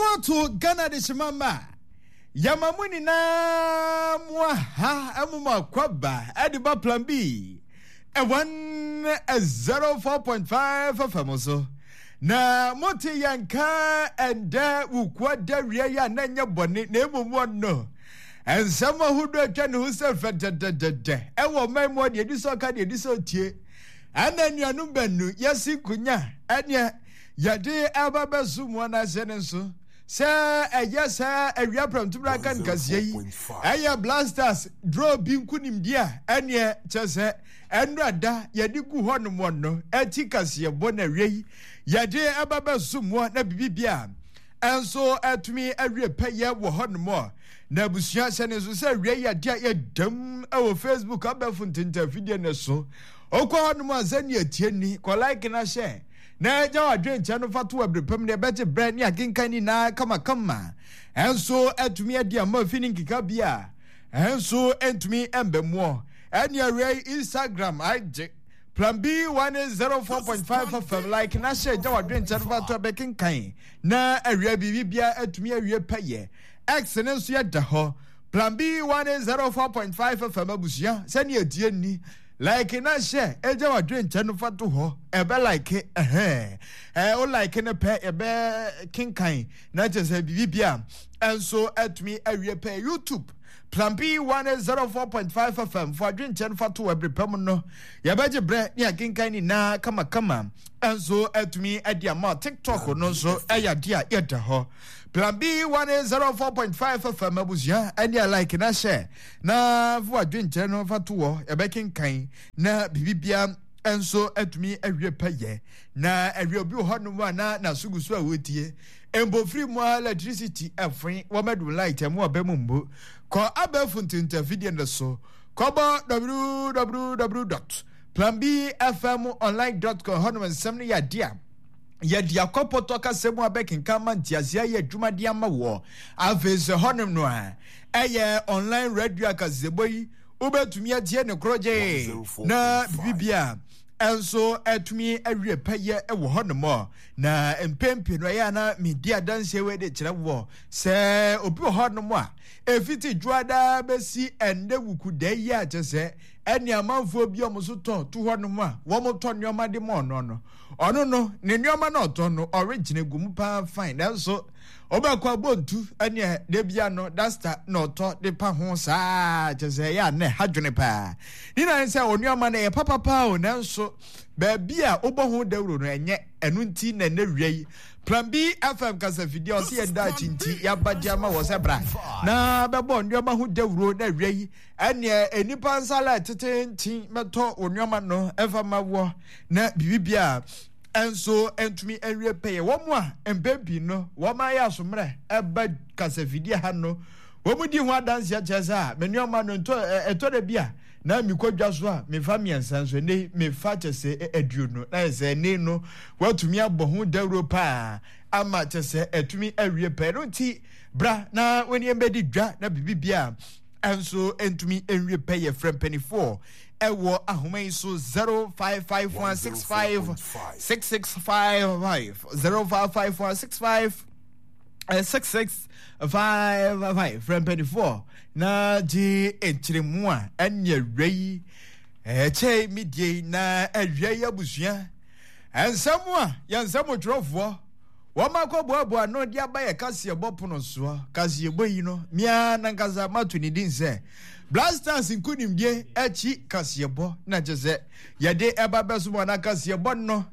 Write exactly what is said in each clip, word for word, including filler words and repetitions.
Yɛmo ato Ghana de hyema ma yɛma mo nyinaa mo aha ɛmo mo akwaba ɛde ba Plan B one zero four point five F M so na mote yɛn ka ɛndɛ wukua da wia yi a na nyɛ bɔne na mmom wɔno nsɛm ahodoɔ atwa ne ho sɛ fɛdɛdɛdɛdɛ ɛwɔ ɔman mu. Deɛ ɛdi sɛ ɔka, deɛ ɛdi sɛ ɔtie, ɛna anuanom baanu yɛsi nkonya ɛneɛ yɛde ɛba bɛso mu anaasɛ ne nso sɛ ɛyɛ sɛ awia prɛmtoberɛ aka nkaseɛ yi ɛyɛ Black Stars draw bi nkonimdi a ɛneɛ kyɛ sɛ ɛnura da yɛde gu hɔ nom no ɛti kaseɛ bɔ na awia yi yɛde ɛba bɛso mu na biribi a ɛnso ɛtumi awie pɛyɛ wɔ hɔ nom. Na abusua, hyɛ ne nso sɛ awia yi adeɛ a yɛdam ɛwɔ Facebook abɛɛfo ntentafidie ne so. Okɔ hɔ nom a, sɛnea tie ni, kɔ like na hyɛ na ɛgya wadwe nkyɛn no fa to abiri pam ne ɛbɛgye brɛ ne akenkan nyinaa kamakama ɛnso ɛtumi adi ama fi ne nkeka bi a ɛnso ɛntumi ɛmbɛ ɛne awia yi Instagram agye Plan B one zero four point five F M, like na hyɛ, gya wadwe nkyɛn no fa to ɛbɛkenkan na awia biribi bia atumi awie pɛyɛ. X ne nso yɛda hɔ Plan B one zero four point five F M. Abusua, sɛnea ɛtie ni, like na hyɛ, ɛgya wadwe nkyɛn no fa to hɔ, ɛbɛ like ɛhɛn ɛɛ o like ne pɛ, ɛbɛ kenkan na kyerɛ sɛ biribi bia ɛnso atumi awie pɛ. YouTube, Plan B one zero four point five F M, fo adwe nkyɛn fa to ɛbere pɛ mu no, yɛbɛgye brɛ ne akenkan nyinaa kamakama ɛnso atumi adi ama. TikTok no nso ɛyɛ adeɛ a yɛda hɔ Plan B one zero four point five F M. Abusua, ɛne a like na hyɛ na fo adwe nkyɛn no fa to hɔ, yɛbɛkenkan na biribi nso atumi awie pɛyɛ. Na awie obi wɔ hɔnom a na n'aso gu so a wɔtie mpofiri mu a electricity ɛfoe wɔmɛdum light ɛmu ɔbɛ mu mbu kɔ abɛɛfo ntentafidie no so, kɔbɔ w w w dot plan b f m online dot com. Hɔnom nsɛm no yɛ adeɛ a yɛde akɔpɔtɔ kasa mu abɛkenkan ma nteaseɛ ayɛ adwumadeɛ ama wɔ. Afei sɛ hɔnom no a ɛyɛ online radio akasɛbɔ yi, wobɛtumi atie ne korɔgye na biribibia ɛnso atumi awie pɛyɛ wɔ hɔnom. Na mpɛn no ɛyɛ ana medi adanseɛ wei de kyerɛ wɔ sɛ obi wɔ hɔnom a ɛfiti dwoadaa bɛsi ɛnnɛ wukuda yi a kyɛ sɛ ɛne amanfoɔ bi a wɔn nso tɔ to hɔnom a wɔtɔ nneɛma de ma ɔno no ɔno no ne nneɛma no ɔtɔ no ɔregyina gu mu paa fine, nanso ɔbɛkɔ abɔntu ɛne debia no duster na ɔtɔ de pa ho saa kyɛ sɛ ɛyɛ a na ɛha dwene paa ne nan sɛ ɔnneɛma no ɛyɛ papapaa o, nanso baabi a wobɔ ho dawuro no ɛnyɛ ɛno. Nti na ɛnɛ wia yi Plan B F M kasafidie a ɔsɛ yɛn da akyi nti yɛaba de ama wɔ sɛ bra na bɛbɔ nneɛma ho dawuro na awia yi ɛneɛ nnipa nsa la tetenten mɛtɔ wɔ nneɛma no ɛfa ma wɔ na biribia ɛnso ntumi nwie pɛyɛ. Wɔn a mpɛn pii no wɔn ayɛ asommerɛ ɛba kasafidie ha no, wɔn di ho adanseɛ kyerɛ sɛ a me nneɛma no ntɔ ɛtɔ da bi a na mekɔ dwa so a mefa mmiɛnsa nso ɛnɛ mefa kyɛ sɛ aduonu na yɛ sɛ ɛnɛ no watumi abɔ ho dawuro paa ama kyɛ sɛ ɛtumi awie pɛɛ no. Nti bra na wɔn ani bɛdi dwa na biribi bia ɛnso ntumi nwie pɛ. Yɛ frɛ mpanimfoɔ ɛwɔ ahoma yi so zero five five one six five six six five five, zero five five one six five six six five five. Frɛ mpanimfoɔ na gye nkyerɛmu a ɛne awia yi ɛkyɛ medie na awia yi. Abusua, nsɛm a yɛn nsɛm twerɛfoɔ wɔn akɔboaboa no de aba yɛ kaseɛbɔ pono soɔ, kaseɛbɔ yi no mmea nankasa mato ne din sɛ Black Stars nkonimdie akyi kaseɛbɔ, na kyɛ sɛ yɛde ɛba bɛso mu ana kaseɛbɔ no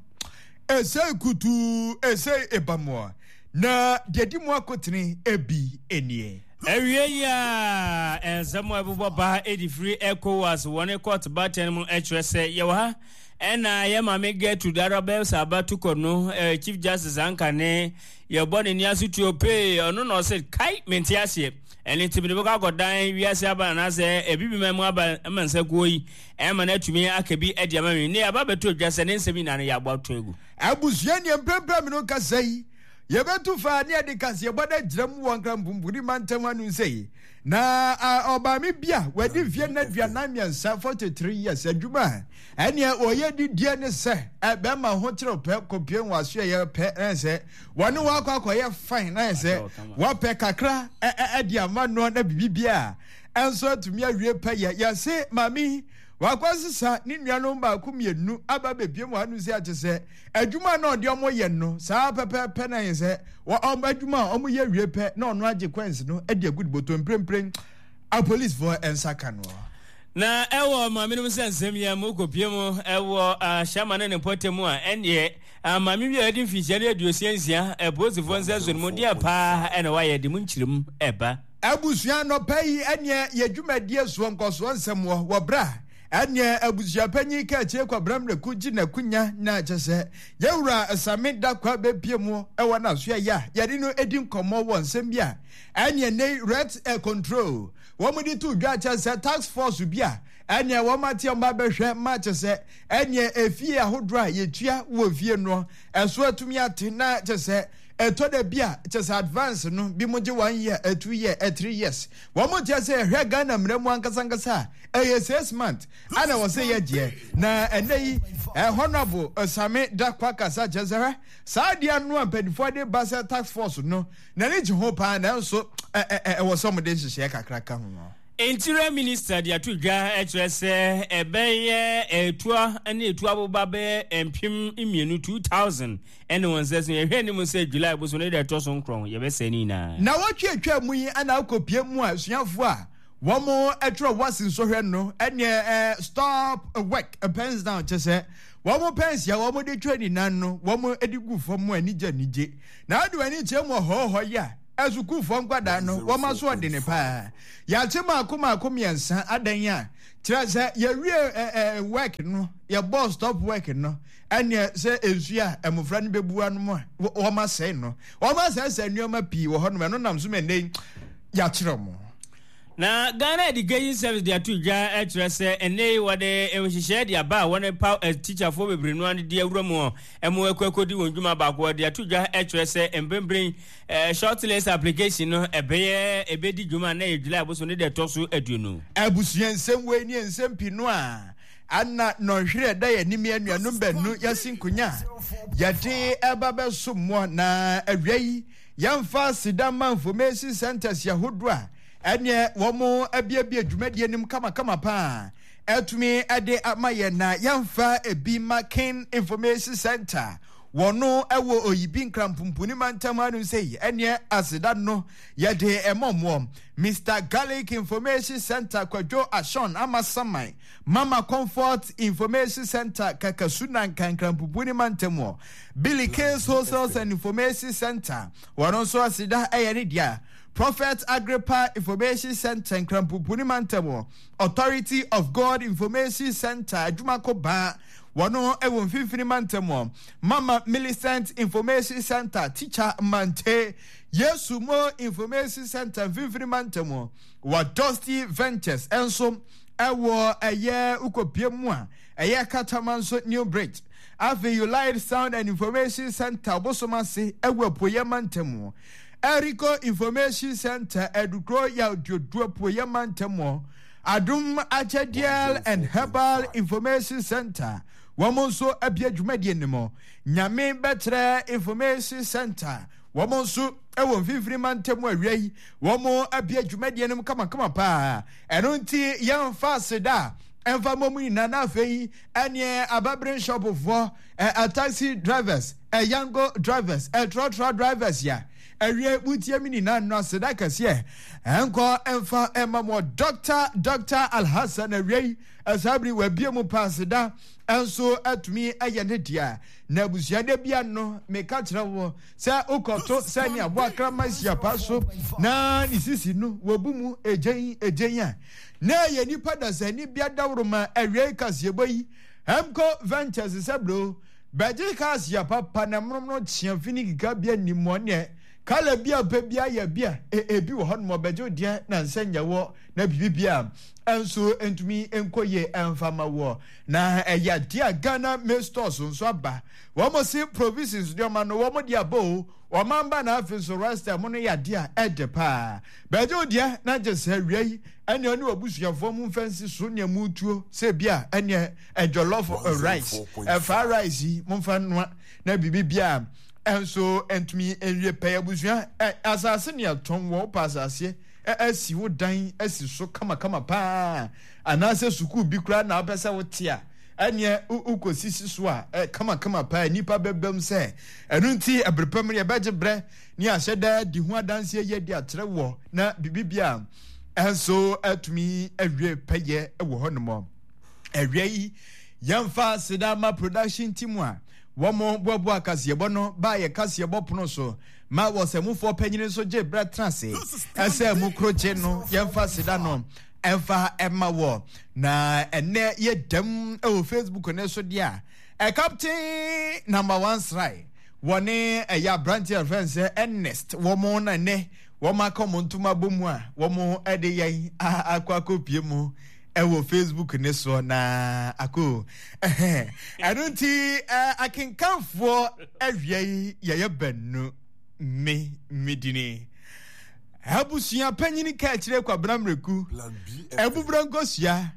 ɛsɛ kutuu ɛsɛ ɛba na deɛ di mu akotene ebi nie. Awie yi a nsɛm a ɛbobɔ ba ɛde firi ECOWAS wɔne court batten mu ɛkyerɛ sɛ yɛwɔ ha ɛna yɛ maame Gertrude Araba Esaaba Torkornoo, Chief Justice anka ne yɛbɔ ne ni aso tuo pee. Ɔno na ɔsɛ kai mente aseɛ, ɛne nti mede bɛkɔ akɔdan wiase aba anaasɛ ebibima mu aba ma nsakuo yi ɛma no atumi aka bi adi ama me ne aba bɛtɔ dwa sɛ ne nsɛm nyinaa no yɛabɔ ato agu. Abusua, neɛ mprɛmprɛ me no kasa yi Yɛbɛtu fa ne yɛde kaseɛbɔ no agyina mu wɔ Nkranpumpuni mantam ano sei. Na ɔbaame bi a wadi mfeɛ no aduanan mmiɛnsa, forty three years, adwuma a ɛneɛ ɔyɛ didie ne sɛ bɛrima ho kyerɛw pɛ kɔpie wɔ asoɛyɛ pɛ na sɛ wɔne wakɔ akɔyɛ fine na sɛ wɔpɛ kakra ɛde ama no na biribi a ɛnso atumi awie pɛ yɛ. Yɛse maame wakɔ sesa ne nuanom baako mmienu aba bebie mu ano sɛ ate sɛ adwuma na ɔde ɔmo yɛ no saa pɛpɛɛpɛ na yɛ sɛ ɔmo adwuma a ɔmo yɛ wie pɛ na ɔno agye coins no de agu de bɔtɔ. Mprempren apolisifoɔ nsa ka no. Na ɛwɔ maame no sɛ nsɛm yi a mu kɔpie mu ɛwɔ ahyɛma ne ne mpɔtam mu a, ɛnneɛ maame bi a ɛde mfinhyia ne aduosia nsia, apolisifoɔ nsa so no mu deɛ paa ɛna wayɛ de mu nkyerɛmu ɛba. Abusua, nɔpɛ yi ɛneɛ yɛ dwumadie soɔ nkɔsoɔ nsɛm wɔ wɔ berɛ a ɛneɛ abusuapanyin kaakyire Kwabena Mmerɛku gye n'akonya na kyɛ sɛ yɛwura Same Dakwa bɛpie mu ɛwɔ n'aso ɛyɛ a yɛde no edi nkɔmmɔ wɔ nsɛm bi a ɛneɛ ne rent control wɔn de to dwa kyɛ sɛ task force bi a ɛneɛ wɔn ate wɔn abɛhwɛ ma kyɛ sɛ ɛneɛ efie ahodoɔ a yɛtua wɔ fie no ɛso atumi ate na kyɛ sɛ ɛtɔ da bi a kyɛ sɛ advance no bi mo gye one year, two year, three years. Wɔn mo kyɛ sɛ ɛhwɛ Ghana mmerɛ mu ankasankasa a ɛyɛ six month ana wɔ sɛ yɛgyeɛ. Na ɛnɛ yi Honourable Same Dakwa kasa kyɛ sɛ hwɛ saa adeɛ no a mpanimfoɔ de ba sɛ task force no n'ani gye ho paa, nanso ɛwɔ sɛ wɔde nhyehyɛeɛ kakra ka ho. Interior Minister de ato dwa kyerɛ sɛ ɛbɛyɛ etua ne etu aboba bɛyɛ mpem mmienu, two thousand, ɛne wɔn nsa so. Yɛhwɛ anim sɛ July boso ne deɛ ɛtɔ so nkorɔn yɛbɛsɛ ne nyinaa. Na wɔtwe atwa mu yi ana akɔpie mu a asuafoɔ a wɔn atwerɛ WASSCE nsɔhwɛ no ɛneɛ ɛɛ stop work, pens down, kyɛ sɛ wɔn pens a wɔn de twerɛ nyinaa no wɔn de gu fam anigye anigye. Na ade wɔn ani kyerɛ mu ɔhɔɔhɔ yi a asukuufoɔ nkwadaa no wɔn aso ɔdene paa. Yɛakye maako maako mmiɛnsa adan a kyerɛ sɛ yɛwie ɛɛ ɛɛ work no, yɛbɔ stop work no, ɛneɛ sɛ nsuo a mmɔfra no bɛbu anom a wɔn asɛe no, wɔn asɛesɛe nneɛma pii wɔ hɔnom. Ɛno nam so ma nnɛ yɛakyerɛ mo. Na Ghana Education Service de ato dwa kyerɛ sɛ ɛnɛ yi wɔde nhyehyɛeɛ de aba a wɔne pa tikyafoɔ bebree no ano de awura mu ɛmo akɔ akɔdi wɔn dwuma baako. Wɔde ato dwa kyerɛ sɛ mprempren shortlist application no ɛbɛyɛ ɛbɛdi dwuma na yɛ July boso ne deɛ ɛtɔ so aduonu. Abusua, nsɛm wei ne nsɛm pii no a ana nɔnhwerɛ da yɛ anim, anuanom baanu yɛsi nkonya a yɛde ɛba bɛso mmoa. Na awia yi yɛmfa Sidama Information Centers ahodoɔ a ɛneɛ wɔn abiabie dwumadie nim kamakama paa ɛtumi ɛde ama yɛn. Na yɛmfa ebi ma King Information Center, wɔno ɛwɔ Oyibi Nkrampumpuni mantam ano sɛ yi ɛneɛ aseda no yɛde ɛmɔ mmoɔ. Mister Garlic Information Center, Kwadwo Ashon Amasaman. Mama Comfort Information Center, Kakasuna Nkankrampupuni mantam wɔ. Billy Case Wholesales and Information Center, wɔn nso aseda ɛyɛ ne dea. Prophet Agrippa Information Center, Nkrampupuni mantam wɔ. Authority of God Information Center, Adwumako Baa, wɔn ɛwɔ Mfimfini mantam wɔ. Mama Millicent Information Center, Teacher Mante. Yesu Mo Information Center, Mfimfini mantam wɔ. Wɔ Dusty Ventures ɛnso ɛwɔ ɛyɛ ukopie mu a ɛyɛ Katama nso New Bridge. Afei United Sound and Information Center, Ɔbosom ase ɛwɔ Apuoyɛ mantam wɔ. Erico Information Center, Adukuro Yawduodu, Apuoyɛ mantam wɔ. Adum Akyɛdeɛ and Herbal Information Center, wɔn nso abie dwumadie no mu. Nyame Bɛkyerɛ Information Center, wɔn nso ɛwɔ Mfimfini mantam awia yi wɔn abie dwumadie no mu kamakama paa. Ɛno nti yɛmfa aseda ɛmfa mmɔ mu nyinaa. Na afei ɛneɛ ababere shopfoɔ, ɛ taxi drivers, ɛ yango drivers, ɛ trɔtrɔ drivers ya awie mutie mi nyinaa no, aseda kɛseɛ ɛnkɔ ɛmfa ɛma mo. Doctor Doctor Alhassan, awie yi ɛsaa bere wabie mu pa, aseda ɛnso atumi ɛyɛ ne dea. Na abusuade bia no meka kyerɛ wo sɛ wokɔto sɛnea aboa krama siapa so na ne sisi no wɔbu mu egyen egyen a na ɛyɛ nipa dasani bia dawuroma. Awie kaseɛbɔ yi Hemco Ventures sɛ bro bɛgye kaa siapa pa na mmrom no kyea fini keka bia nimɔ neɛ Kala bi a pɛ bi ayɛ bi a ebi wɔ hɔ nom ɔbɛgye wo deɛ na nsɛ nyɛ wɔ na biribi bi a nso ntumi nkɔ yie ɛmfa ma wɔ. Na ɛyɛ adeɛ a Ghana maize stores nso aba. Wɔn se provisions nneɛma no wɔn de aba o. Wɔn amba na afei nso rice mo no yɛ adeɛ a ɛdɛ paa. Bɛgye wo deɛ na gye sɛ awia yi ɛne ɔne w'abusuafoɔ mu mfa nsi so nea mu tuo sɛ bi a ɛneɛ jollof rice ɛfa rice yi momfa nnoa na biribi bi a ɛnso ntumi nwie pɛyɛ. Abusua, asase ne ɛtɔn wɔ wopɛ asase asi wo dan asi so kamakama paa anaasɛ sukuu bi koraa na wopɛ sɛ wote a ɛneɛ wokɔsisi so a kamakama paa nnipa bɛbam sɛ ɛno nti ɛbere pɛ mu yɛbɛgye berɛ ne ahyɛ daa di ho adanseɛ yɛ de akyerɛ wɔ na biribi bi a ɛnso atumi awie pɛyɛ wɔ hɔ nom. Awia yi yɛmfa seda ma production team a wɔn boaboa kaseɛbɔ no baa yɛ kaseɛbɔ pono so ma wɔsɛmufoɔ panyini nso gye berɛ tena ase ɛsɛ mu koro gye no. Yɛmfa seda no ɛmfa ɛma wɔ na ɛnɛ yɛ dɛm ɛwɔ Facebook ne so deɛ a captain number one srae wɔne ɛyɛ aberanteɛ a fɛn sɛ Ernest wɔn na ɛnɛ wɔn aka wɔn ntoma bɔ mu a wɔn ɛde yɛn akɔ akɔpie mu ɛwɔ Facebook ne soɔ na ako ɛno nti akenkanfoɔ awia yi yɛyɛ bɛnu me medini abusua panyini ka akyerɛ Kwabena Mmereku abubura nkosua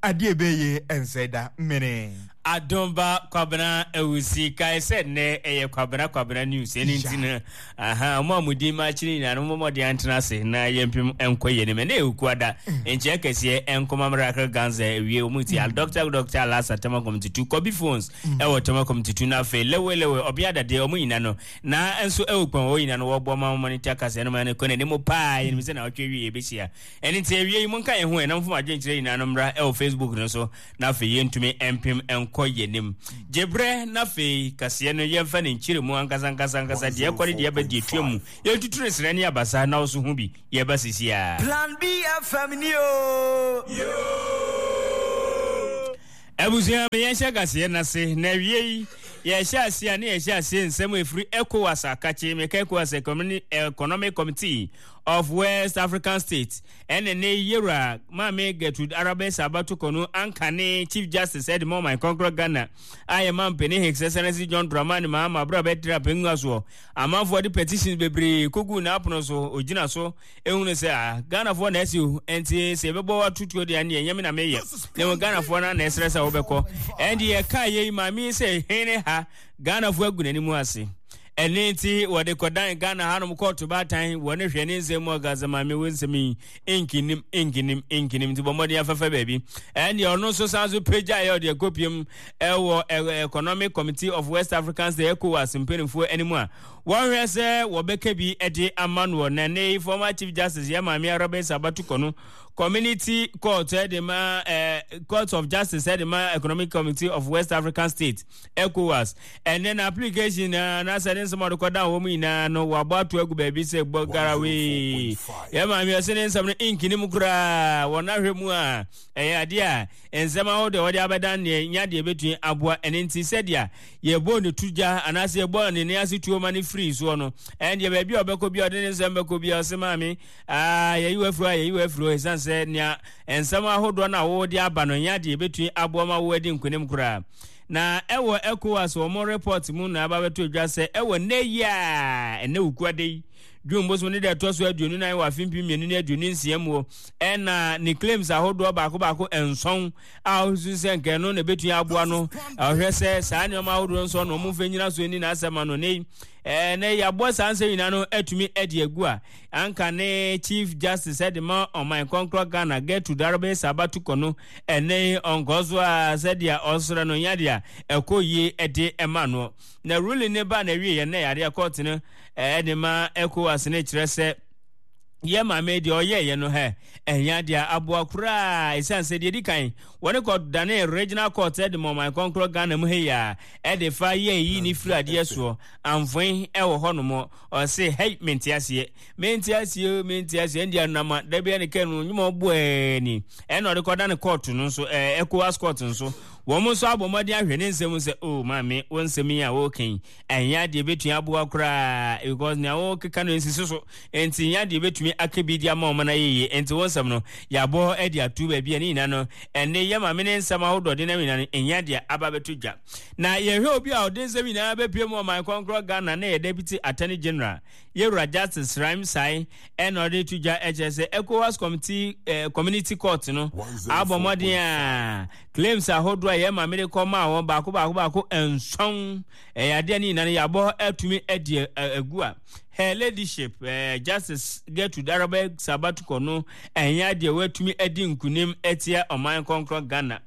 adeɛ ɛbɛyɛ ɛnsɛ da mmene. Adomba Kwabena Awusi kae sɛ nnɛ ɛyɛ Kwabena Kwabena news ɛno nti no aha mo a mo din ma akyiri nyinaa no mommɔden antena ase na yɛmpem nkɔ yɛ anim. Ɛnɛ yɛ Okuada nkyɛ kɛseɛ nkɔma Miracle Ganza awie wɔn ti al Doctor Doctor Alasa Tema Community two Kobi Phones ɛwɔ Tema Community two na afei lewe lewe ɔbea dadeɛ wɔn nyinaa no na nso ɛwɔ kwan wɔn nyinaa no wɔbɔ ma wɔn monitor kasa ɛno ma no kɔ n'anim paa yɛnim sɛ na ɔtwe wie yɛbɛhyia ɛne nti awie yi monka yɛn ho ɛnam fom adwenkyerɛ nyinaa no mmra ɛwɔ Facebook no so na afei yɛntumi mpem nkɔ yɛnim gyebrɛ na afei kaseɛ no yɛmfa ne nkyerɛ mu ankasa ankasa ankasa deɛ ɛkɔ ne deɛ ɛbɛ deɛ tua mu yɛntutu ne serɛ ne abasa na wo so ho bi yɛba sisi a. Plan B F M ni o. Abusua me yɛnhyɛ kaseɛ no ase na awie yi yɛhyɛ ase a ne yɛhyɛ ase nsɛm ɛfiri ECOWAS akakye meka ECOWAS Economic Committee of West African States ɛne ne yɛwura Maame Gertrude Arabe Sabatoko no anka ne Chief Justice ɛde ma ɔman kɔnkrɔ Ghana a yɛ ma mpanin His Excellency John Dramani Mahama abere a bɛtira pɛngu asoɔ amanfoɔ de petitions bebree kogu n'apono so ogyina so ehunu sɛ a Ghanafoɔ na ɛsi o nti sɛ yɛbɛbɔ watutuo deɛ ɛne ɛnyɛ me na meyɛ na mmom Ghanafoɔ no na ɛsrɛ sɛ wobɛkɔ ɛnde yɛka yɛ maame sɛ hene ha Ghanafoɔ agu n'anim ase ɛne nti wɔde kɔdan Ghana hanom kɔɔto baatan wɔne hwɛ ne nsɛm mu ɔka sɛ maame wo nsɛm yi nkinim nkinim nkinim nti bɔ mmɔden afɛfɛ baabi ɛne ɔno nso san so pagya yɛ ɔde akɔpiem ɛwɔ Economic Committee of West African States ECOWAS mpanimfoɔ anim a wɔhwɛ sɛ wɔbɛka bi de ama no na ne former Chief Justice yɛ maame Arabe Sabatoko no Community Court ɛde ma Court of Justice ɛde ma Economic Committee of West African States ECOWAS ɛnɛ na application na n'asɛ ne nsɛm a ɔde kɔda wɔn nyinaa no wɔabɔ ato agu baabi sɛ bɔ garawee yɛ maame ɔsɛ ne nsɛm no nkinim koraa wɔn ahwɛ mu a ɛyɛ adeɛ a nsɛm ahodoɔ wɔde abɛdan neɛ nya deɛ bɛtumi aboa ɛne nti sɛdeɛ yɛbɔ ne tu gya anaasɛ yɛbɔ ne ne ase tuo ma ne firi soɔ no ɛndeɛ baabi a ɔbɛkɔ bi a ɔde ne nsɛm bɛkɔ bi a ɔsɛ maame aa yɛyi wafiri hɔ a yɛyi wafiri hɔ ɛsiane sɛ nea nsɛm ahodoɔ no a wɔde aba no nya deɛ bɛtumi aboa ma wɔadi nkonim koraa. Na ɛwɔ ECOWAS wɔn report mu na aba bɛto dwa sɛ ɛwɔ nnɛ yi a ɛnɛ wukuade yi June bosom ne deɛ ɛtɔ so aduonu nan wɔ afe mpem mmienu ne aduonu nsia mu ɛna ne claims ahodoɔ baako baako nson a ɔsusu sɛ nkɛn no na ebetumi aboa no ɔhwɛ sɛ saa nneɛma ahodoɔ nson na wɔn mfa nyina so ni n'asɛm ano ne ɛnɛ yɛabɔ saa nsɛm nyinaa no atumi adi agu a anka ne Chief Justice ɛde ma ɔman kɔnkrɔ Ghana Gertrude Arabe Sabatoko no ɛnɛ ɔnkɔ so a sɛdeɛ ɔsrɛ no nyadeɛ ɛkɔ yie ɛde ɛma no na ruling ne ba na awie yɛn na yadeɛ kɔɔte no ɛde ma ECOWAS ne kyerɛ sɛ yɛ maame deɛ ɔyɛ yɛ no hɛ ɛnya deɛ aboa koraa ɛsiane sɛ deɛ di kan wɔne kɔ dane regional court ɛde ma ɔman kɔnkrɔ Ghana mu hei a ɛde fa yɛ yi ne firi adeɛ soɔ amfoe ɛwɔ hɔ nom ɔse hei mente aseɛ mente aseɛ mente aseɛ ɛndeɛ anama da bia ne kɛ no nwuma ɔboɛ ni ɛna ɔde kɔ dane court no nso ECOWAS court nso Wɔn nso abɔ mmɔden ahwɛ ne nsɛm sɛ, "O maame, wo nsɛm yi a wɔreka yi, ɛnyɛ adeɛ bɛtumi aboa koraa, because nea wɔkeka no nsisi so, nti nyɛ adeɛ bɛtumi aka bi de ama wɔn no ayɛ yie. Nti wo nsɛm no yɛabɔ de ato baabi a ne nyinaa no ɛnne yɛ maame ne nsɛm ahodoɔ de nam nyinaa no ɛnyɛ adeɛ aba bɛto dwa." Na yɛhwɛ obi a ɔde nsɛm nyinaa bɛpie mu ɔman kɔnkorɔ Ghana na yɛ Deputy Attorney General, Yɛwura Justice Sraim Sai, ɛna ɔde to dwa ɛkyerɛ sɛ ECOWAS Committee, eh, Community Court no abɔ mmɔden a claims ahodoɔ a yɛ maame de kɔ maa wɔn baako baako baako nson, ɛyɛ adeɛ ne nyinaa no yɛabɔ atumi adi agu a Her Ladyship, eh, Justice Gertrude Araba Sabatukɔ no ɛnyɛ adeɛ wɔatumi adi nkunim atia ɔman kɔnkorɔ Ghana.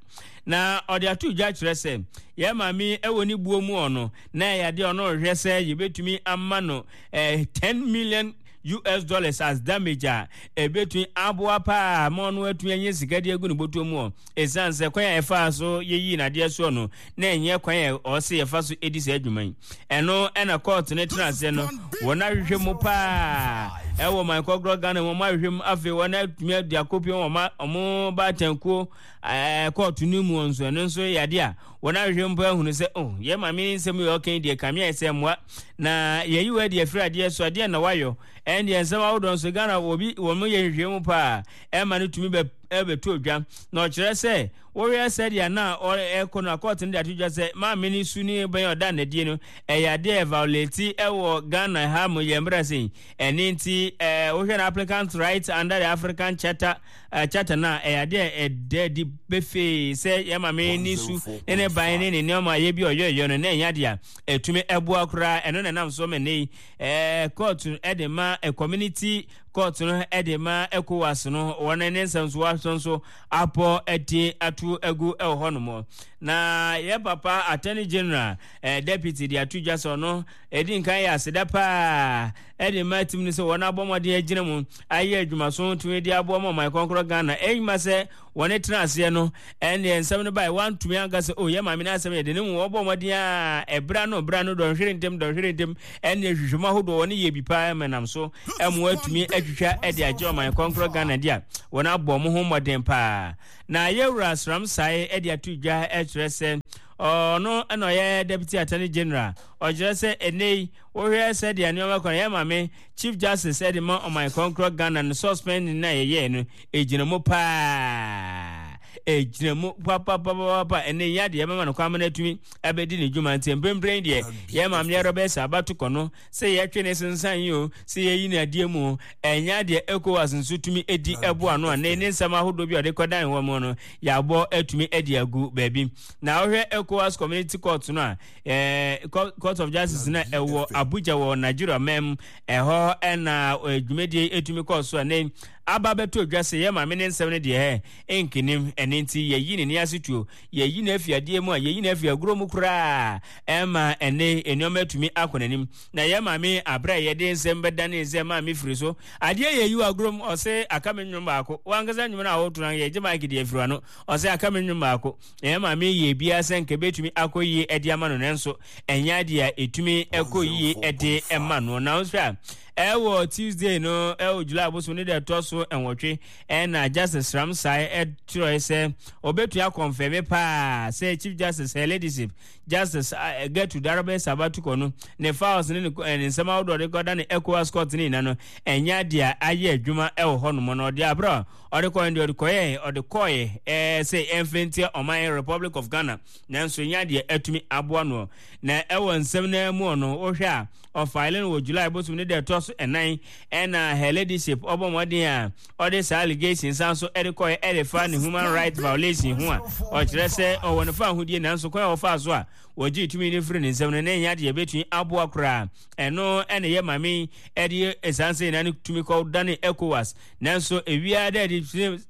Na ɔde ato dwa kyerɛ sɛ yɛ maame ɛwɔ ne buo mu ɔno na ɛyɛ adeɛ ɔno rehwɛ sɛ yɛbɛtumi ama no eh, ten million U S dollars as damage a ɛbɛtumi aboa paa ma ɔno atumi anya sika de agu ne bɔtɔ mu ɔ ɛsiane sɛ kwan a ɛfaa so yɛyii n'adeɛ soɔ no na ɛnyɛ kwan a ɔsɛ yɛfa so ɛdi saa adwuma yi. Ɛno ɛna court no tena aseɛ no, wɔn ahwehwɛ mu paa ɛwɔ man kɔkorɔ Ghana mu. Wɔn ahwehwɛ mu, afei wɔn atumi adi akɔpie wɔn ɔmo baatankuo ɛɛ court no mu nso. Ɛno nso yɛ adeɛ a wɔn ahwehwɛ mu paa ahunu sɛ, oh, yɛ maame nsɛm yɛ ɔka deɛ kame ayɛ sɛ mmoa na yɛyi wɔ adi afiri adeɛ so adeɛ na wayɔ. Ɛndeɛ nsɛm ahodoɔ nso Ghana obi wɔn yɛ nhwehwɛ mu paa ɛma no tumi bɛ ɛbɛto dwa na ɔkyerɛ sɛ wɔhwɛ sɛdeɛ na ɛkɔ no, court no de ato dwa sɛ maame no su ne bɛn ɔda n'adie no ɛyɛ adeɛ violate ɛwɔ Ghana ha mo yɛ mmerɛ sɛn. Ɛne nti ɛɛ wohwɛ no, applicant right under the African Charter, uh, charter na ɛyɛ adeɛ ɛda adi befee sɛ yɛ maame ne su ne ne ban ne ne nneɛma yɛ bi ɔyɔyɔ no na ɛnyɛ adeɛ a ɛtumi ɛboa koraa. Ɛno na ɛnam so ma ne yi ɛɛ court ɛde ma ɛ community court no ɛde ma ECOWAS no, wɔn ne nsɛm so waso nso apɔ ɛde ato agu ɛwɔ hɔnom. Na yɛ papa Attorney General, ɛɛ deputy de ato dwa sɛ ɔno ɛdi nkan yɛ aseda paa ɛde ma tim no sɛ wɔn abɔ mmɔden agyina mu ayɛ adwumaso tumi de aboa ma ɔman kɔnkorɔ Ghana ɛnyima sɛ wɔne tena aseɛ no. Ɛnneɛ nsɛm no bae, wantumi anka sɛ, "O, yɛ maame no asɛm yɛ de ne mu." Wɔbɔ mmɔden a ɛbra no bra no dɔnhwere ntɛm dɔnhwere ntɛm, ɛnneɛ hwehwɛmu ahodoɔ wɔne yɛ bi paa ma nam so ɛmo atumi atwitwa ɛde agye ɔman kɔnkorɔ Ghana di a wɔn abɔ mo ho mmɔden paa. Na yɛwura Sram Sae ɛde ato dwa ɛkyerɛ sɛ ɔno ɛna ɔyɛ Deputy Attorney General, ɔkyerɛ sɛ ɛnɛ yi wohwɛ sɛdeɛ nneɛma kɔ no, yɛ maame Chief Justice ɛde ma ɔman kɔnkorɔ Ghana no suspend na yɛyɛɛ no ɛgyina mu paa, ɛgyina mu papapapapa. Ɛnɛ yi adeɛ ɛbɛma no kwan ma no atumi ɛbɛdi ne dwuma. Nti mprempren deɛ, yɛ maame yɛrɛ bɛsɛ abato kɔ no sɛ yɛtwe ne sensan yi o, sɛ yɛyi ne adeɛ mu o, ɛnyɛ adeɛ ECOWAS nso tumi edi ɛbo ano a ne ne nsɛm ahodoɔ bi a ɔde kɔdan wɔn mu no yɛabɔ atumi adi agu baabi. Na wohwɛ ECOWAS Community Court no a ɛɛ Court of Justice na ɛwɔ Abuja wɔ Nigeria mɛm ɛhɔ, ɛna dwumadie etumi kɔɔ so a ne aba bɛto dwa sɛ yɛ maame ne nsɛm no deɛ ɛ nkenim. Ɛne nti yɛyi ne ne ase tuo, yɛyi no afi adeɛ mu a yɛyi no afi agorɔ mu koraa, ɛma ɛne nneɛma atumi akɔ n'anim. Na yɛ maame aberɛ a yɛde nsɛm bɛdane sɛ maame firi so adeɛ yɛyi wɔ agorɔ mu, ɔsɛ aka me nnwom baako. Wankasa nnwom no a wɔto no, yɛgye mic deɛ afiri ano, ɔsɛ aka me nnwom baako. Na yɛ maame yɛ biara sɛ nka bɛtumi akɔ yie ɛde ama no, nanso ɛnyɛ adeɛ a ɛtumi ɛkɔ yie ɛde ɛma no. Na nso a ɛwɔ Tuesday no, ɛwɔ July bosom ne deɛ ɛtɔ so nwɔtwe, ɛna Justice Ramsai ɛtwerɛ sɛ ɔbɛtua confirm paa sɛ Chief Justice, Her Ladyship Justice uh, Gertrude Arabe Sabatukɔ no ne files ne ne nsɛm ahodoɔ de kɔda ne ECOWAS court ne nyina no ɛnyɛ adeɛ a ayɛ adwuma ɛwɔ hɔnom no. Ɔde aberɛ a ɔde kɔɛ deɛ ɔde kɔɛ ɔde kɔɛ ɛɛ sɛ ɛmfɛntia ɔman Republic of Ghana, nanso ɛnyɛ adeɛ atumi aboa no. Na ɛwɔ nsɛm no mu no, wohwɛ a ɔfile no wɔ July bosom ne deɛ ɛtɔ so ɛnan, ɛna Her Ladyship ɔbɔ mmɔden a ɔde saa allegation san so ɛde kɔɛ ɛde fa ne human rights violation ho a ɔkyerɛ sɛ ɔwɔ ne fa ahodie, nanso kwan a wɔfaa so a wɔgye tumi no firi ne nsɛm no na ɛnyɛ adeɛ bɛtumi aboa koraa. Ɛno ɛna yɛ maame ɛde ɛsan sɛ nyinaa no tumi kɔ dane ECOWAS, nanso ewia dɛɛde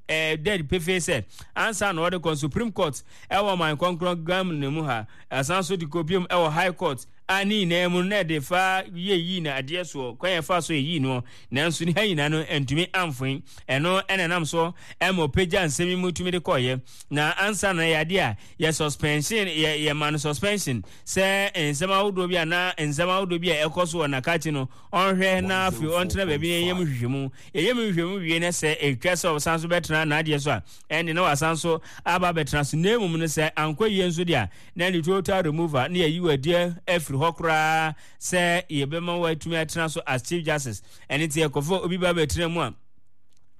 ɛɛ dɛɛde pefee sɛ ansa na ɔde kɔ Supreme Court ɛwɔ ɔman kɔnkɔn Ghana mu ha, ɛsan so de kɔ biom ɛwɔ High Court. A ne nyinaa mu no na ɛde fa yɛyii no adeɛ soɔ, kwan yɛfa so yɛyii noɔ, nanso ne ha nyinaa no ntumi amfoe. Ɛno ɛna nam so ɛma ɔpagya nsɛm yi mu tumi de kɔɔyɛ. Na ansa na yɛ adeɛ a yɛ suspension, yɛ yɛma no suspension sɛ nsɛm ahodoɔ bi anaa nsɛm ahodoɔ bi a ɛkɔ so wɔ n'akakye no, ɔnhwɛ na afei ɔntena baabi na yɛyɛ mu nhwehwɛmu. Yɛyɛ mu nhwehwɛmu wie na sɛ ɛtwa sɛ ɔsan so bɛtena n'adeɛ so a, ɛnde na wasan so aba abɛtena so. Na mmom no sɛ ankɔ yie nso deɛ a, na ɛne total removal ne yɛyi w'adiɛ afiri hɔ koraa sɛ yɛbɛma watumi atena so as Chief Justice. Ɛne nti yɛkɔfa obi ba bɛtena mu a,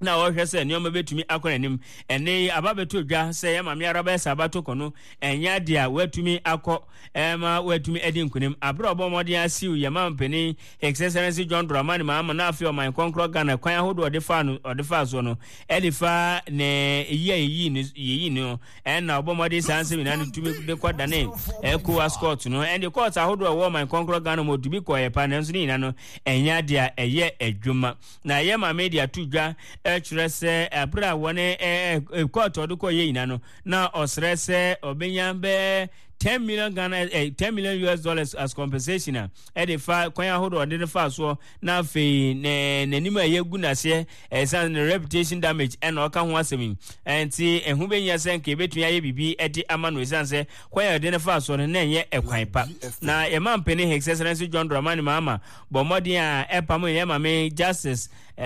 na wɔhwɛ sɛ nneɛma bɛtumi akɔ n'anim. Ɛnne yi aba bɛtɔ dwa sɛ yɛ maame ara bɛyɛ sɛ abato kɔ no, ɛnyɛ adeɛ a watumi akɔ ɛma watumi adi nkonim. Abere a ɔbɔ mmɔden asiw yɛ ma mpanin His Excellency John Dramani Mahama na afei ɔman kɔnkorɔ Ghana kwan ahodoɔ ɔde faa no ɔde faa soɔ no ɛde fa ne yi a yɛyi no yɛyi no ɛna ɔbɔ mmɔden saa nsɛm nyinaa no tumi de kɔ dane ECOWAS court no. Ɛnde court ahodoɔ a ɛwɔ ɔman kɔnkorɔ Ghana mu ɔtumi kɔɔ pa, nanso ne nyinaa no ɛnyɛ adeɛ a ɛyɛ adwuma. Na ɛyɛ maame de ato dwa kyerɛ sɛ ɛberɛ a wɔne court ɔde kɔ yɛ nyinaa no, na ɔsrɛ sɛ ɔbɛnya bɛɛ ten million Ghana eh, ten million U S dollars as compensation a ɛde fa kwan ahodoɔ ɔde ne fa soɔ, na afei ne n'anim a ɛyɛ gu n'aseɛ ɛsan ne reputation damage ɛna ɔka ho asɛm yi. Ɛnti ɛho bɛnyia sɛ nka ebɛtumi ayɛ biribi ɛde ama no, ɛsan sɛ kwan a ɔde ne fa soɔ no na ɛnyɛ ɛkwan pa. Na yɛma mpanin His Excellency John Dramani Mahama bɔ mmɔden a ɛpam yɛ maame Justice Uh,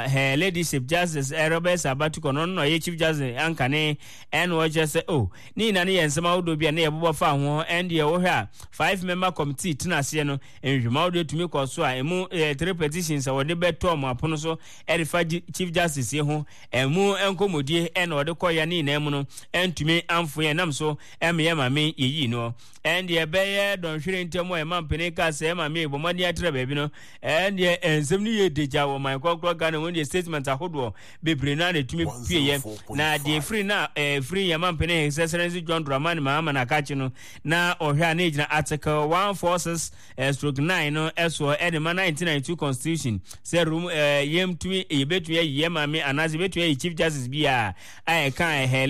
her Ladyship Justice Robert Sabatukɔ no no ɔyɛ Chief Justice ankane, ɛna ɔkyerɛ sɛ oh ne nyinaa no yɛ nsɛm ahodoɔ bi a ne yɛbobɔ fa ho. Ɛndeɛ wohwɛ a five member committee tena aseɛ no, nhwehwɛmu ahodoɔ tumi kɔ so a ɛmu eh, three petitions a wɔde bɛtɔ ɔmo apono so ɛde fa Chief Justice yi ho, ɛmu nkɔmmɔdie ɛna ɔde kɔyɛ ne nyinaa mu no ɛntumi amfo yɛn nam so ɛma yɛ maame yɛyii no. Ɛndeɛ ɛbɛyɛ dɔnhwere ntam a ɛma mpanin ka sɛ ɛma me bɔ mmɔden atena baabi no, ɛndeɛ nsɛm no yɛ degya wɔ man kɔnkɔn Ghana mu. Deɛ statement ahodoɔ bebree no a na ɛtumi pieɛ na deɛ ɛfiri na ɛfiri yɛn ma mpanin His Excellency John Dramani Mahama na akakye no, na ɔhwɛ a na ɛgyina Article one four six stroke nine no ɛsoɔ ɛde ma nineteen ninety two Constitution sɛ room yɛmtumi yɛbɛtumi ayi yɛn maame anaasɛ yɛbɛtumi ayi Chief Justice bi a a ɛka her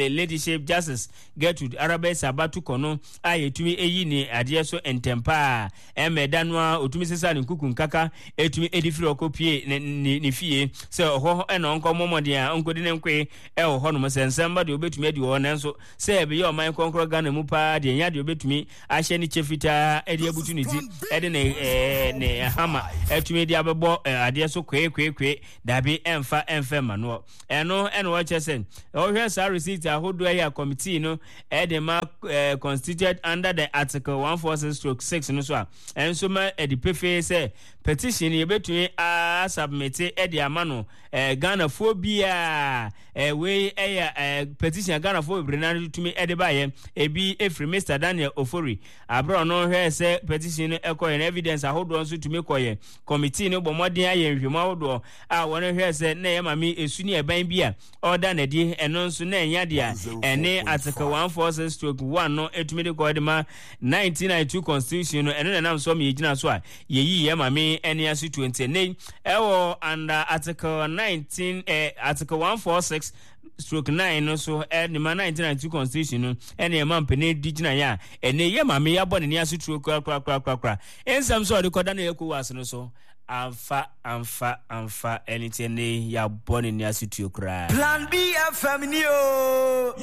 Ladyship Justice Gertrude Araba Sabatu no a yɛtumi eyi ne adeɛ so ntɛm paa. Ɛmɛ da no a otumi sesa ne nkuku nkaka etumi edi firi ɔkɔ pie ne ne ne fie sɛ ɔhɔ ɛna ɔnkɔ mmɔmɔden a ɔnkɔdi ne nkoe ɛwɔ hɔnom sɛ nsɛm ba deɛ obetumi adi wɔ hɔ. Nanso sɛ ɛbɛyɛ ɔman kɔnkɔrɔ Ghana mu paa deɛ, nya deɛ obetumi ahyɛ ne kyɛ fitaa ɛde abutu ne ti ɛde ne ɛɛ ne hama ɛtumi de abɛbɔ adeɛ so kwee kwee kwee, dabi, ɛnfa ɛnfɛ ma noɔ. Ɛno ɛna wɔkyerɛ sɛ ɔhwɛ saa receipt ahodoɔ yi a committee no ɛde ma ɛɛ constituted under the Article one four six stroke six no so a, ɛnso ma ɛde pefee sɛ petition yɛbɛtumi asubmit ɛde ama no ɛɛ Ghanafoɔ biara. ɛɛ wei ɛyɛ ɛɛ petition a Ghanafoɔ bebree naa tumi ɛde baayɛ. Ebi efiri Mister Daniel Ofori abere ɔno hwɛ sɛ petition no ɛkɔyɛ no, evidence ahodoɔ nso tumi kɔyɛ. Committee no bɔ mmɔden ayɛ nhwɛmu ahodoɔ a wɔn hwɛ sɛ na ɛyɛ maame esu ne ɛban bi a ɔda n'adi, ɛno nso na ɛnya deɛ ɛne Article one four six stroke one no etumi de kɔ de ma nineteen ninety two Constitution no. Ɛno na ɛnam so ma yɛgyina so a yɛyi yɛ maame ɛne aso twenty ne ɛwɔ under Article nineteen ɛɛ Article one four six stroke nine no so ɛne ma nineteen ninety two Constitution no, ɛne ɛma mpanin di gyina yɛ a ɛne yɛ maame yɛabɔ n'ani ase turo korakorakorakora. Nsɛm so a ɔde kɔda no ECOWAS no so amfa amfa amfa, ɛne ti ɛne yɛabɔ n'ani ase tuo koraa. Plan B F M ni o.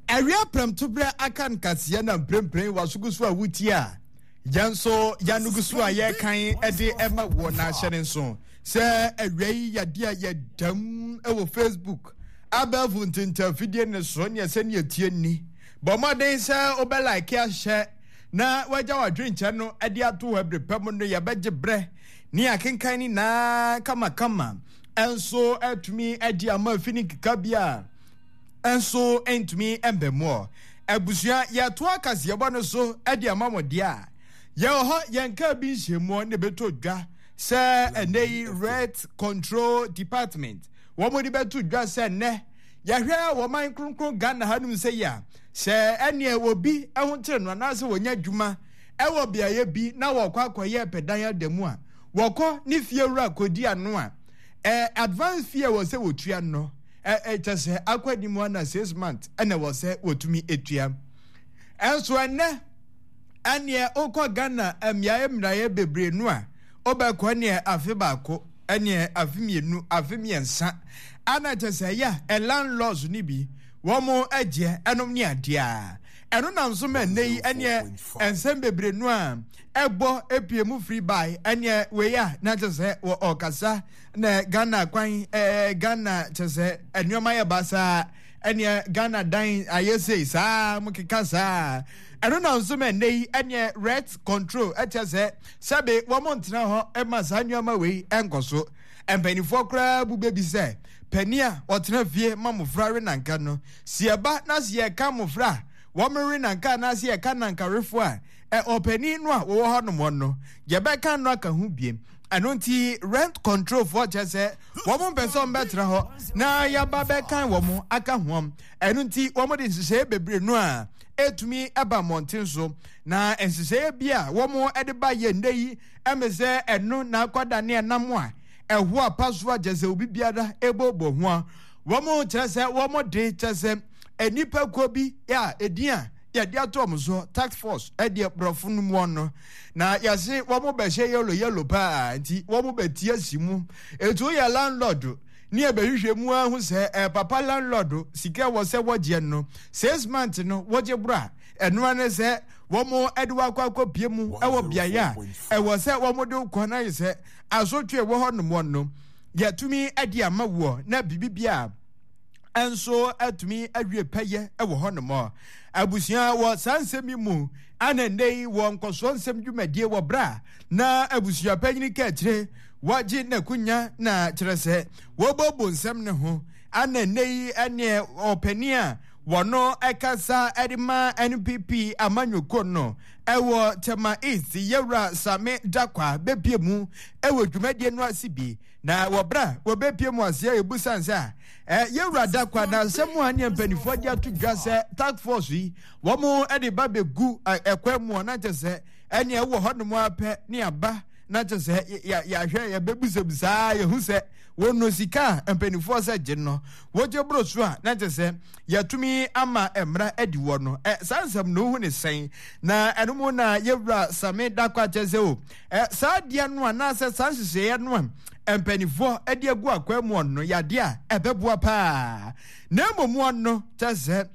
Awia prɛmtoberɛ aka nkaseɛ na mprempren wasogu so a wotie a yɛn nso yɛanogu so a yɛrekan de ɛma wɔ n'ahyɛ ne nso sɛ awia yi yɛde a yɛdam wɔ Facebook abɛɛfo ntentafidie ne so neɛ sɛneɛ tie nni. Bɔ mmɔden sɛ wobɛlike ahyɛ na wagya w'adwenkyɛ no de ato hɔ. Abere pɛ mu no yɛbɛgye berɛ ne akenkan ne naa kamakama ɛnso atumi adi ama afi ne nkeka bi a ɛnso ntumi mbɛ mu. Abusua, yɛto akaseɛbɔ no so de ama mo deɛ a yɛwɔ hɔ. Yɛnka bi nhyɛmuɔ ne bɛtɔ dwa sɛ ɛnɛ yi Rent Control Department wɔn de bɛto dwa sɛ nnɛ yɛhwɛ wɔman kronkron Ghana hanom sɛ yi a sɛ ɛneɛ obi ho kyerɛ no anaasɛ wɔnya adwuma ɛwɔ beaeɛ bi na wɔkɔ akɔyɛ pɛdan ada mu a, wɔkɔ ne fie wura kɔdi ano a, ɛ advance fee a wɔ sɛ wɔtua no ɛ kyɛ sɛ akɔ anim ana six months ɛna wɔ sɛ wɔtumi etua. Ɛnso ɛnɛ ɛneɛ wokɔ Ghana mmeaeɛ mmeaeɛ bebree no a, wobɛkɔ neɛ afe baako, ɛneɛ afe mmienu, afe mmiɛnsa, ana kyɛ sɛ ɛyɛ a landlords no bi wɔn agyeɛ ɛnom ne adeɛ a ɛno nam so ma ɛnɛ yi ɛneɛ nsɛm bebree no a ɛbɔ epie mu firi bae ɛneɛ wei a na kyɛ sɛ wɔ ɔkasa na Ghana kwan ɛɛ Ghana kyɛ sɛ nneɛma yɛ basaa, ɛneɛ Ghana dan ayɛ sei saa mo keka saa. Ɛno nam so ma ɛnɛ yi ɛneɛ rent control ɛkyɛ sɛ sɛbe wɔn ntena hɔ ɛma saa nneɛma wei ɛnkɔ so. Mpanimfoɔ koraa bu bɛbi sɛ panin a ɔtena fie ma mmɔfra we nanka no, si ɛba na si ɛka mmɔfra a wɔn we nanka anaasɛ ɛka nankawefoɔ a, ɔpanin no a wɔwɔ hɔ nom no yɛbɛka no aka ho biem. Ɛno nti rent control foɔ kyerɛ sɛ wɔn mpɛ sɛ wɔn bɛtena hɔ na yaba bɛkan wɔn aka ho. Ɛno nti wɔn de nhyehyɛeɛ bebree no a etumi ɛba mmɔnten so, na nhyehyɛeɛ bi a wɔn de ba yɛ nnɛ yi ɛmɛ sɛ ɛno na akɔda ne ɛnam a ɛho apa so a kyerɛ sɛ obi biara ɛbɔbɔ ho a wɔn kyerɛ sɛ wɔn de kyerɛ sɛ nnipa kuo bi a edin a yɛde ato wɔn so task force ɛdeɛ borɔfo no mu no na yɛse wɔn bɛhyɛ yellow yellow paa, nti wɔn bɛti asi mu. Etu yɛ landlord ne yɛbɛhwehwɛ mu ahu sɛ ɛ papa landlord sika wɔ sɛ wɔgyeɛ no six months no wɔgye boro a, ɛnoa ne sɛ wɔn ɛde wakɔ akɔpie mu ɛwɔ beaeɛ a ɛwɔ sɛ wɔn de kɔ na yɛ sɛ asotwe wɔ hɔ nom no yɛtumi ɛde ama woɔ na biribi bia nso atumi awie pɛyɛ wɔ hɔ nom. Abusua, wɔ saa nsɛm yi mu ana nnɛ yi wɔ nkɔsoɔ nsɛm dwumadie wɔ bra na abusua panyin ka akyire wɔgye n'akonya na kyerɛ sɛ wɔbɔbɔ nsɛm ne ho ana nnɛ yi ɛneɛ ɔpanin a wɔno ɛkasa ɛde ma N P P amanyɔkuo no ɛwɔ Tema East Yɛwura Same Dakwa bɛpie mu ɛwɔ dwumadie no ase bi. Na wɔ bra wɔbɛpie mu aseɛ ebusan sɛ a yɛwura Dakwa na nsɛm a ne mpanimfoɔ de ato dwa sɛ task force yi wɔn de ba bɛgu ɛkwan mu na kyɛ sɛ ɛne ɛwɔ hɔnom apɛ ne aba na kyɛ sɛ yɛahwɛ yɛbɛbusabusaa yɛhu sɛ wɔn no sika a mpanimfoɔ sɛ gye no wɔgye boro so a na kyɛ sɛ yɛtumi ama mmara adi wɔ no. Ɛ saa nsɛm no ho ne sɛn na ɛno mu na yɛwura Same Dakwa kyɛ sɛ o ɛ saa adeɛ no anaasɛ saa nhyehyɛeɛ no a mpanimfoɔ de agu akwan mu no yadeɛ a ɛbɛboa paa, na mmom no kyɛ sɛ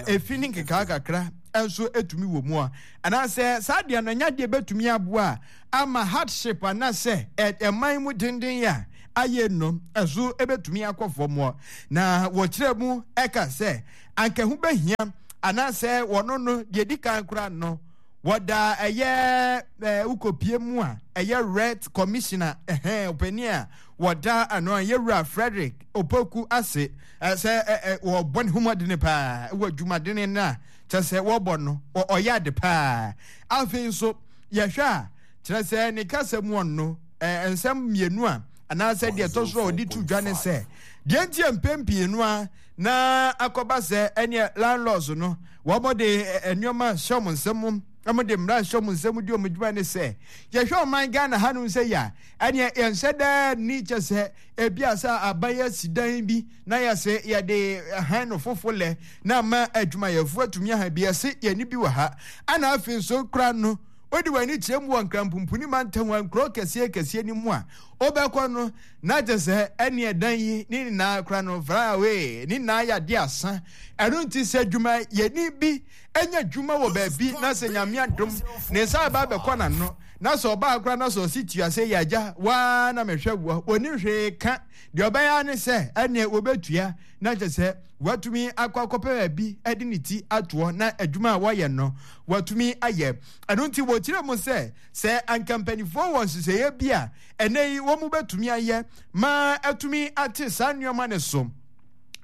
efi ne nkekaa kakra nso etumi wɔ mu a anaasɛ saa adeɛ no nya adeɛ bɛtumi aboa ama hardship anaasɛ ɛman mu denden a ayɛ no ɛso ebɛtumi akɔ fam. Na wɔkyerɛ mu ɛka sɛ anka ho bɛhia anaasɛ wɔno no deɛ di kan koraa no wɔda ɛyɛ ɛɛ wokɔpie mu a ɛyɛ red commissioner ɛhɛn ɔpanin a wɔda ano a yɛwura Frederick Opoku ase sɛ ɛ wɔbɔ ne ho mmɔden paa wɔ adwumadene no a kyerɛ sɛ wɔbɔ no ɔyɛ ade paa. Afei nso yɛhwɛ a kyerɛ sɛ ne kasa mu ɔno ɛɛ nsɛm mmienu a anaasɛ deɛ ɛtɔ so a ɔde to dwa ne sɛ deɛ nti mpɛn pii no a na akɔba sɛ ɛneɛ landlords no wɔn de nneɛma hyɛ wɔn nsam, wɔn de mmara hyɛ wɔn nsam di wɔn adwuma ne sɛ yɛhwɛ ɔman Ghana hanom sɛ yɛ a ɛneɛ yɛnhyɛ daa ni kyɛ sɛ ebi a sɛ aban asi dan bi na yɛsɛ yɛde han no fofo lɛ na ama adwumayɛfoɔ atumi ahan bi, yɛse yɛne bi wɔ ha. Ana afei nso kora no wode w'ani kyerɛ mu wɔ Nkrampumpuni mantam a nkuro kɛseɛ kɛseɛ no mu a wobɛkɔ no na kyɛ sɛ ɛne ɛdan yi ne nyinaa kora no far away ne nyinaa yɛ adeɛ asa. Ɛno nti sɛ adwumayɛni bi anya adwuma wɔ baabi na sɛ Nyame adom ne nsa aba abɛkɔ n'ano na sɛ ɔbaa kora na sɛ ɔsi tua sɛ yɛ agya waa na mehwɛ woɔ wɔni hwee ka deɛ ɔbɛyɛ ne sɛ ɛneɛ wɔbɛtua na kyɛ sɛ watumi akɔ akɔpɛ baabi de ne ti atoɔ na adwuma a wɔyɛ no watumi ayɛ. Ɛno nti wɔkyerɛ mu sɛ sɛ anka mpanimfoɔ wɔ nhyehyɛeɛ bi a ɛnɛ yi wɔn bɛtumi ayɛ ma atumi ate saa nneɛma no so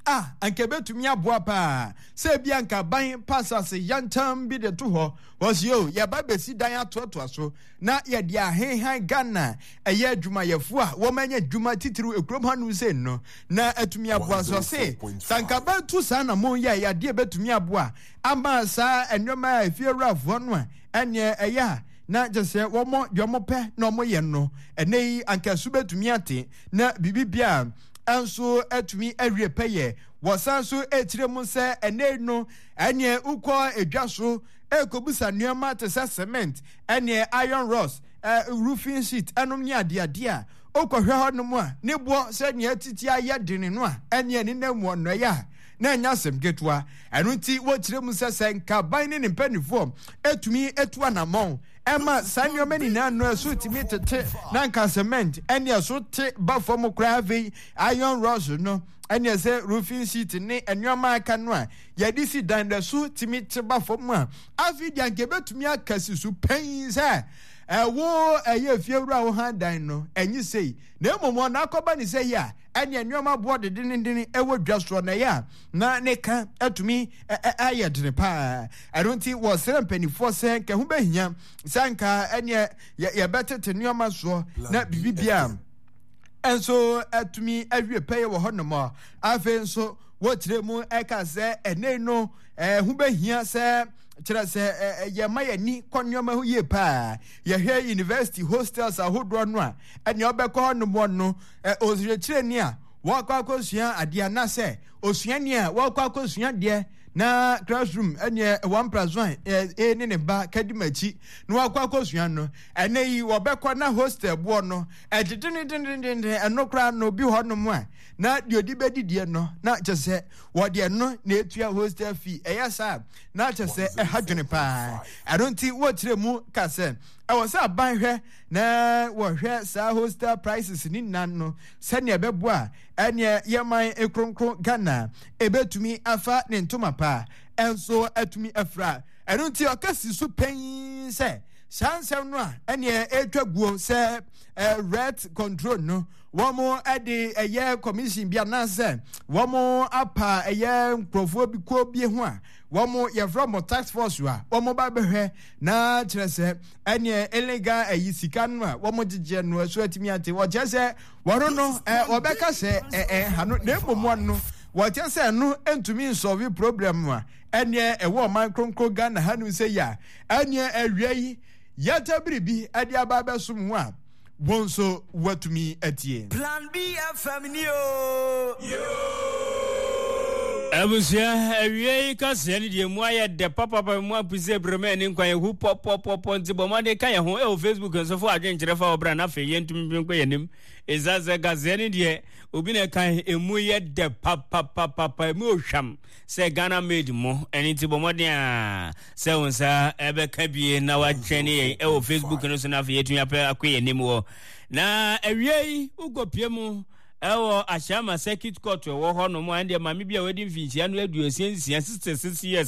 a anka ɛbɛtumi aboa paa sɛ ebi anka ban pa asase yantam bi de to hɔ wɔsi o yɛba bɛsi dan atoatoa so na yɛde ahenhan Ghana ɛyɛ adwumayɛfoɔ a wɔn anya adwuma titiriw ekurom hanom sɛ no na atumi aboa so se sanka bɛtu saa na mo yɛ yadeɛ bɛtumi aboa ama saa nneɛma a efie awurafoɔ no a ɛneɛ ɛyɛ a na kyerɛ sɛ wɔn deɛ wɔn pɛ na wɔn yɛ no ɛnɛ yi anka so bɛtumi ate na biribi bia nso atumi awie pɛyɛ. Wɔsan so ekyirɛ mu sɛ ɛnɛ no ɛneɛ wokɔ edwa so ɛrekɔbusa nneɛma te sɛ cement ɛneɛ iron rods, eh, roofing sheet ɛnom ne adeadeɛ a wokɔhwɛ hɔnom a ne boɔ sɛdeɛ atiti ayɛ dene no a ɛneɛ ne nam mu ɔnnɔeɛ a na ɛnyɛ asɛm ketewa. Ɛno nti wɔkyerɛ mu sɛ sɛ nka aban ne ne mpanimfoɔ ɛtumi ɛtu anammɔn ɛma saa nneɛma nyinaa no ɛso tumi tete na nka cement ɛne ɛso te ba fam koraa, afei iron rods no ɛne ɛsɛ roofing sheet ne nneɛma aka no a yɛde si dan no ɛso tumi te ba fam a, afei deɛ anka ɛbɛtumi aka si so pɛn sɛ ɛwo ɛyɛ fiewura wo han dan no ɛnye sei, na mmom ɔno akɔba ne sɛ yi a ɛne nneɛma boɔ dedendenden ɛwɔ dwa soɔ na ɛyɛ a na ne ka atumi ayɛ dene paa. Ɛno nti wɔsrɛ mpanimfoɔ sɛ nka ho bɛhia sɛ nka ɛneɛ yɛbɛtete nneɛma soɔ na biribibia nso atumi awie pɛyɛ wɔ hɔnom. Afei nso wɔkyerɛ mu ɛka sɛ ɛnɛ no ɛho bɛhia sɛ kyerɛ sɛ yɛma yɛni kɔ nneɛma ho yie paa. Yɛhwɛ university hostels ahodoɔ no a, ɛnea ɔbɛkɔ hɔnom no, ɔkyerɛkyerɛni a wɔkɔ akɔsua adeɛ anaasɛ osuani a wɔkɔ akɔsua adeɛ na classroom ɛneɛ one plus one ɛ ne ne ba kadi m'akyi na wakɔ akɔsua no, ɛnɛ yi wɔbɛkɔ na hostel boɔ no ɛdedendendenden. Ɛno koraa no bi hɔnom a na deɛ ɔde bɛdidiɛ no na kyɛ sɛ wɔde ɛno na etua hostel fee. Ɛyɛ saa na kyɛ sɛ ɛha dwene paa. Ɛno nti wɔkyerɛ mu ka sɛ ɛwɔ sɛ aban hwɛ na wɔhwɛ saa hostel prices ne nyinaa no sɛnea ɛbɛboa ɛneɛ yɛman kronkron Ghana ɛbɛtumi afa ne ntoma pa ɛnso atumi afira. Ɛno nti ɔka si so pɛn sɛ saa nsɛm no a ɛneɛ ɛretwa guo sɛ rent control no wɔn de ɛyɛ commission bi anaasɛ wɔn apa ɛyɛ nkurɔfoɔ bi kuo bi ho a wɔn yɛfrɛ mo task force a wɔn ba bɛhwɛ na kyerɛ sɛ ɛneɛ illegal ɛyi sika no a wɔn gyegyeɛ no ɛso atumi ate. Wɔkyerɛ sɛ wɔn no ɛ wɔbɛka sɛ ɛ ɛ ha no, na mmom wɔn no wɔkyerɛ sɛ ɛno ntumi nsolve problem a ɛneɛ ɛwɔ ɔman kronkron Ghana ha no sɛ yi a ɛneɛ awia yi yɛtɛ biribi ɛde aba abɛsom ho a wɔn nso wɔatumi atie. Plan B F M ni o. Abusua, awie yi kaseɛ no deɛ mu ayɛ dɛ papapa mu apusɛ brɛmɛ ne nkwan ehu pɔpɔpɔpɔ, nti bɔ mmɔden ka yɛn ho ɛwɔ Facebook nso fo adwenkyerɛ fa ɔbra na afei yɛntumi bi nkɔ yɛn anim. Ɛsiane sɛ kaseɛ no deɛ obi na ɛka emu yɛ dɛ papapapapa, emu ohwam sɛ Ghana made mu. Ɛno nti bɔ mmɔden a sɛ wo nsa ɛbɛka bie na watwɛn ne yɛn ɛwɔ Facebook no so na afei yɛtumi apɛ akɔ yɛn anim wɔ na awie yi. Wokɔpie mu ɛwɔ Ashaiman Circuit Court ɛwɔ hɔ nom a, ɛndeɛ maame bi a wadi mfinhyia no aduosia nsia, sixty six years.